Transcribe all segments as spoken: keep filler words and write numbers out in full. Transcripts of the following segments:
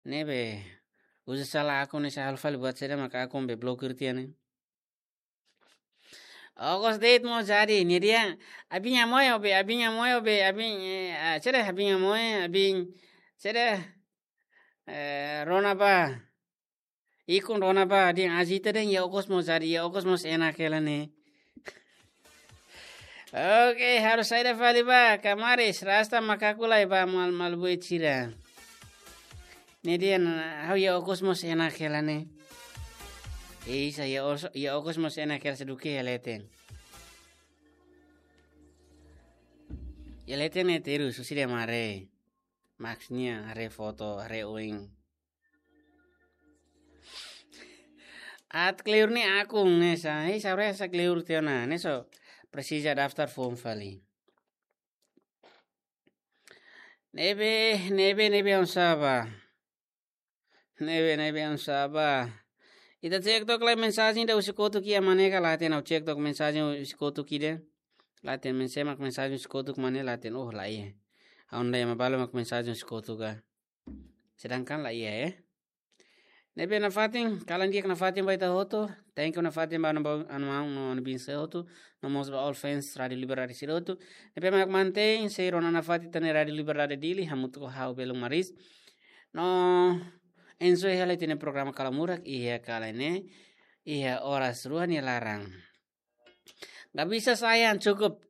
Ne'ebé, uza sala akun ne'e, sá halo fali buat saida maka akun be blokir tiha ne'e. Okos de'it mós jadi, nia dehan, abin nia moe be, abin nia moe be, abin, eh, ah, saida, abin nia moe, abin, saida, eh, rona bá. Ikun rona bá, dehan agita de'it, iha okos mós jadi, iha okos mós enak hela ne'e. Oke, halo saida fali bá, kamaris, rasta makaku lai bá, mal, mal buat sira. Ne'e dehan, ha'u iha okos mós enak hela ne'e. Isa, iha os-, iha okos mós enak hela, sei duké iha leten. Iha leten ne'e terus, husi de'it mak haree. Maksudnya, haree foto, haree oin. Atu kleur ne'e akun ne'e sá, eh, sabe sá kleur tiha ona, ne'e só presiza daftar foun fali. Ne'ebé, ne'ebé, ne'ebé oinsá bá. Ne'ebé, ne'ebé oinsá bá. Ita cek tok lai mensajen ida husi kotuk iha mane ka, la hatene, ha'u cek tok mensajen husi kotuk ida. La hatene, mensajen mak mensajen husi kotuk mane, la hatene, oh, la iha. Ha'u-nia ema balu mak mensajen husi kotuk ka. Sedangkan la iha, eh. Ne'ebé nafatin, kalan di'ak nafatin ba ita hotu. Thank you nafatin ba anu, ba anu maun no anu biin sira hotu. No mós ba all fans Rádiu Liberdade sira hotu. Ne'ebé mak mantein sei rona nafatin ita-nia Rádiu Liberdade Dili, hamutuk ho ha'u Belun Maris. No enjoy hela ita-nia programa Kala Murak iha kala ne'e, iha oras rua nia laran. Gak bisa sayang, cukup.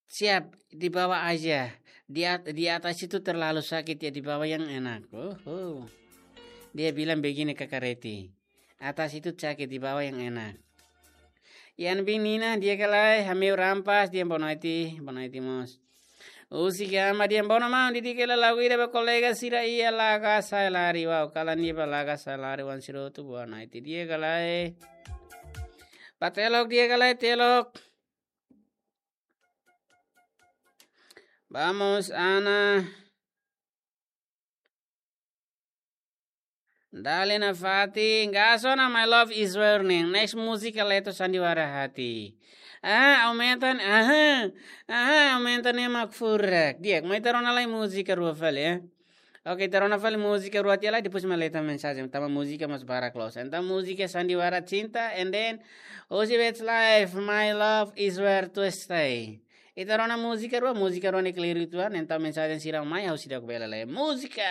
Siap, di bawah aja. Di at-, di atas itu terlalu sakit ya, di bawah yang enak. Oh, oh. Dia bilang begini, Kaka Reti. Atas itu sakit, di bawah yang enak. Ian Bin Nina, di'ak ka lae, hameu rampas, dehan boa noite, boa noite mós. Husi Gama, dehan boa noite maun, di'ak ka lae, lagu ida ba kolega sira iha Laga Sai Lari, wow, kalan ida ba Laga Sai Lari, wan sira hotu, boa noite, di'ak ka lae. Ba Telok, di'ak ka lae, Telok. Vamos, Ana. Dale nafatin, gas ona, My Love Is Burning. Next múzika Leto Sandiwara Hati. Ah, aumenta, aha, aha, aumenta ne'e mak furak. Di'ak, mai ita rona lai múzika rua fali, eh. Oke, ita rona fali múzika rua tiha lai, depois mak leta mensajen. Tanba múzika mós barak loos. Entaun múzika Sandiwara Cinta, and then Ozzy Westlife, My Love Is Where to Stay. Ita rona múzika rua, múzika rua ne'e kleur uitoan, entaun mensajen sira mai, ha'u seidauk bele lee. Múzika!